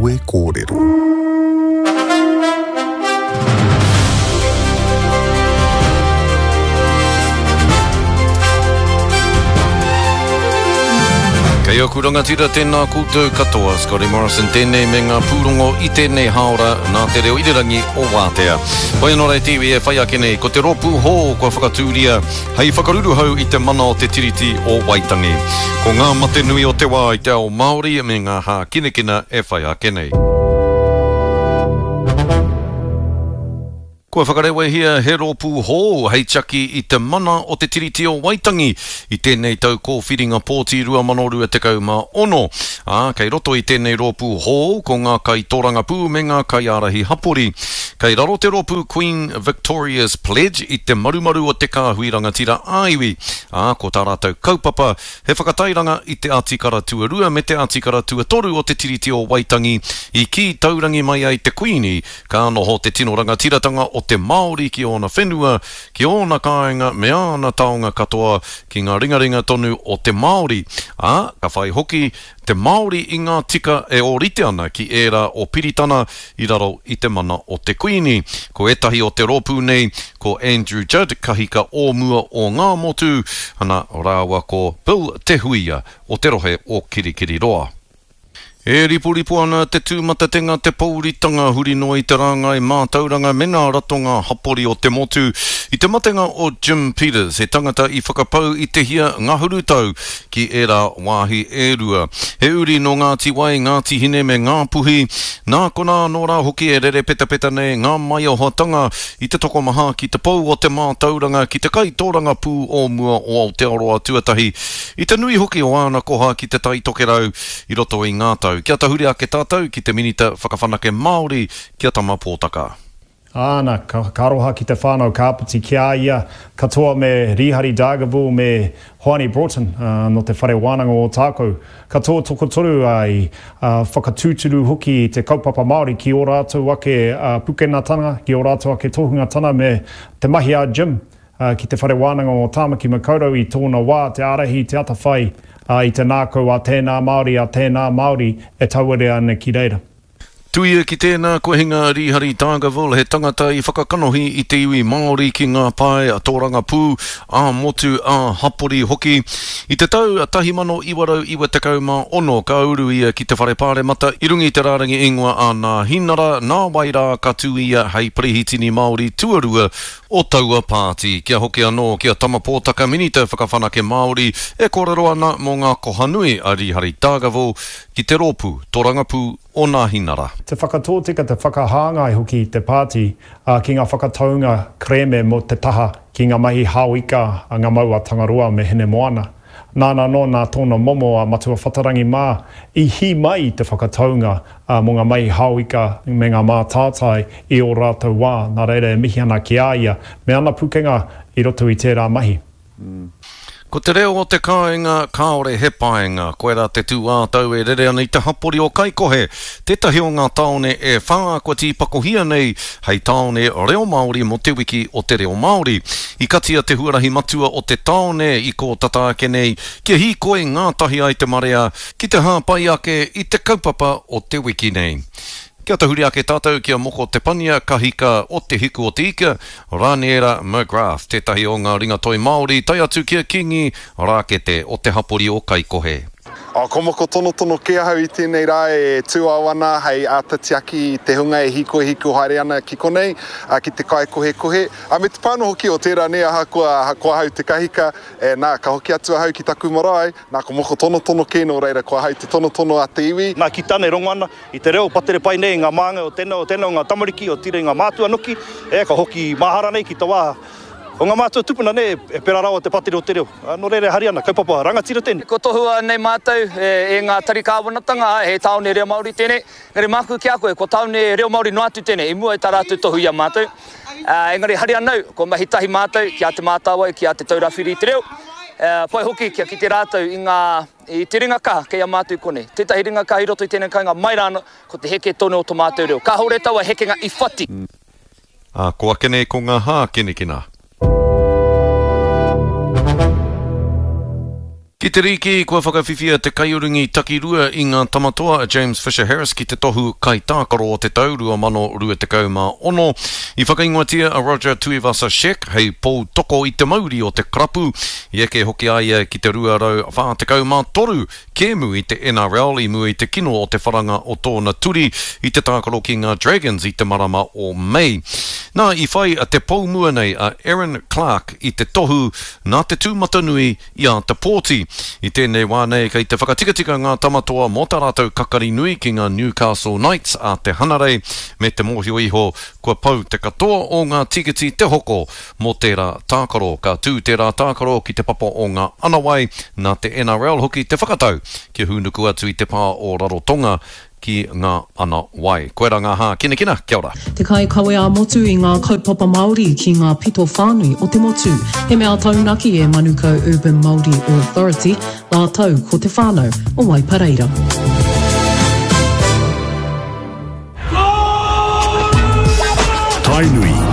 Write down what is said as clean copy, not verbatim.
Kawe Kōrero. Kei aku rangatira tēnā koutou katoa, Scotty Morrison tēnei me ngā pūrongo i tēnei hāora nā te reo irirangi o Wātea. Hoi anō rā te iwi e whai ake nei, ko te rōpū hou kua whakatūria hei whakaruruhau i te mana o te Tiriti o Waitangi. Ko ngā mate nui o te wā i te ao Māori me ngā hākinakina e whai ake nei. Kua whakarewehia he rōpū hou hei tiaki i te mana o te Tiriti o Waitangi i tēnei tau kōwhiringa pōti 2026, ā, kei roto i tēnei rōpū hou ko ngā kaitōrangapū me ngā kaiārahi hapori. Kei raro te rōpū Queen Victoria's Pledge i te marumaru o te kāhui rangatira ā-iwi, ā, ko tā rātou kaupapa he whakatairanga i te Atikara Tuarua me te Atikara Tuatoru o te Tiriti o Waitangi i kī taurangi mai ai te Kuini Ka noho te tino rangatiratanga o te Māori ki ōna whenua, ki ōna kāinga me āna taonga katoa ki ngā ringaringa tonu o te Māori, ā, ka whai hoki te Māori i ngā tika e ōrite ana ki ērā o Piritana i raro i te mana o te Kuini. Ko ētahi o te rōpū nei, ko Andrew Judd, kahika o mua o Ngāmotu, ana, rāua ko Bill Te Huia o te rohe o Kirikiriroa. E riporipo ana te tūmatatenga, te pouritanga huri noa i te rāngai mātauranga me ngā ratonga hapori o te motu i te matenga o Jim Peters, he tangata i whakapau i te hia ngahuru tau ki ērā wāhi e rua. He uri nō Ngāti Wai, Ngāti Hine me Ngāpuhi, nā konā anō rā hoki e rere petapeta nei ngā maiohatanga i te tokomaha ki te pou o te mātauranga ki te kaitōrangapū o mua o Aotearoa tuatahi I te nui hoki o āna koha ki Te Tai Tokerau i roto i ngā tau. Kia tahuri ake tātou ki te Minita Whakawhanake Māori, ki a Tama Pōtaka. Āna, ka aroha ki te whānau Kāpiti ki a ia katoa me Rīhari Dargaville me Hoani Broughton nō te Whare Wānanga o Ōtākou. Katoa tokotoru i whakatūturu hoki i te kaupapa Māori ki ō rātou ake pukenatanga, ki ō rātou ake tohungatana me te mahi a Jim. ki Te Whare Wānanga o Tāmaki Makaurau i tōna wā, te ārahi, te atawhai i te nākau a tēnā Māori, a tēnā Māori e tauarea ana ki reira. Tuia ki tēnā, kua hinga a Rīhari Dargaville, he tangata i whakakanohi i te iwi Māori ki ngā pae tōrangapū, ā-motu, ā-hapori hoki. I te tau 1996 ka uru ia ki te Whare Pāremata i runga i te rārangi ingoa a Nāhinara, nāwai rā ka tū ia hei Perehitini Māori tuarua o taua pāti. Kia hoki anō ki a Tama Pōtaka Minita Whakawhanake Māori e kōrero ana mō ngā koha nui a Rīhari Dargaville ki te rōpū torangapū o Nāhinara. Te whakatōtika, te whakahāngai hoki i te pāti ki ngā whakataunga kerēme mō te taha ki ngā mahi hao ika a ngā mau a Tangaroa me Hinemoana. Nāna anō nā tōna momo a Matua Whatarangi mā i hī mai i te whakataunga mō ngā mahi hao ika me ngā mātātai i ō rātou wā, nā reira e mihi ana ki a ia me ana pukenga i roto i tērā mahi. Ko te reo o te kāinga kāore he paenga, koirā te tūātau e rere ana i te hapori o Kaikohe, tētahi o ngā tāone e whā kua tīpakohia nei hei tāone reo Māori mō Te Wiki o te Reo Māori. I katia te huarahi matua o te tāone i kō tata ake nei kia hīkoi ngātahi ai te marea ki te hāpai ake i te kaupapa o te wiki nei. Kia tahuri ake tātou ki a Moko Te Pania, kahika o Te Hiku o Te Ika, Raniera McGrath, tētahi o ngā ringatoi Māori, tae atu ki a Kingi Rākete o te hapori o Kaikohe. Oh, ko moko tonotono kē ahau i tēnei rā e tūao ana hei āta tiaki i te hunga e hīkoi hīkoi haere ana ki konei, ki te kaikohekohe. Ā, me te pā anō hoki o tērā nē, ahakoa, ahakoa ahau te kahika, e, nā, ka hoki atu ahau ki taku marae, nā, ko moko tonotono kē nō reira, ko ahau te tonotono a te iwi. Nā, ki tāna e rongo ana i te reo patere pai nei i ngā māngai o tēnā, o tēnā o ngā tamariki, otirā i ngā mātua noki, e, ka hoki mahara nei ki te wā O nga mātua tupuna nei e pera rawa te patiri o te reo. No reira e hari ana, kaupapa rangatira tenei. Kua tohua nei mātou e ngā tari kāwanatanga, āe, he tāone reo Māori tēnei. Engari māku ki a koe, kua tāone reo Māori noa atu tēnei, i mua i tā rātou tohu i a mātou. Engari hari ana au, kua mahi tahi mātou ki a Te Mātāwai, ki a Te Taura Whiri i te Reo. Pai hoki kia kite rātou i ngā, i te ringa kaha kei a mātou i konei. Tētahi ringa kaha i roto i tēnei kāinga mai rānō, ko te heke tonu o to mātou reo. Kāore taua hekenga i whati. Ā, ko ake nei ko ngā hākinakina. Ki. Ki te rīki, kua whakawhiwhia te kaiurungi takirua i ngā Tamatoa a James Fisher-Harris ki te tohu Kaitākaro o te tau 2026. I whakaingoatia a Roger Tuivasa-Sheck hei pou toko i te mauri o te karapu. I eke hoki a ia ki te 243 kēmu i te NRL i mua i te kino o te wharanga o tōna turi i te tākaro ki ngā Dragons i te marama o Mei. Nā, i whai te pou mua nei a Erin Clark i te tohu nā te tūmatanui i āta pōti. I tēnei wā nei kei te whakatikatika ngā tama toa mō tā rātou kakari nui ki ngā Newcastle Knights a te Hanarei me te mōhio iho kua pau te katoa o ngā tīkiti te hoko mō tērā tākaro. Ka tū tērā tākaro ki te papa o ngā Anawai, nā te NRL hoki te whakatau kia hūnuku atu i te pā o Rarotonga ki ngā ana wai. Koirā ngā hākinakina, kia ora. Te kaikawe ā-motu i ngā kaupapa Māori ki ngā pito whānui o te motu. He mea taunaki e Manukau Urban Māori Authority rātou ko te whānau o Waipareira. Tainui.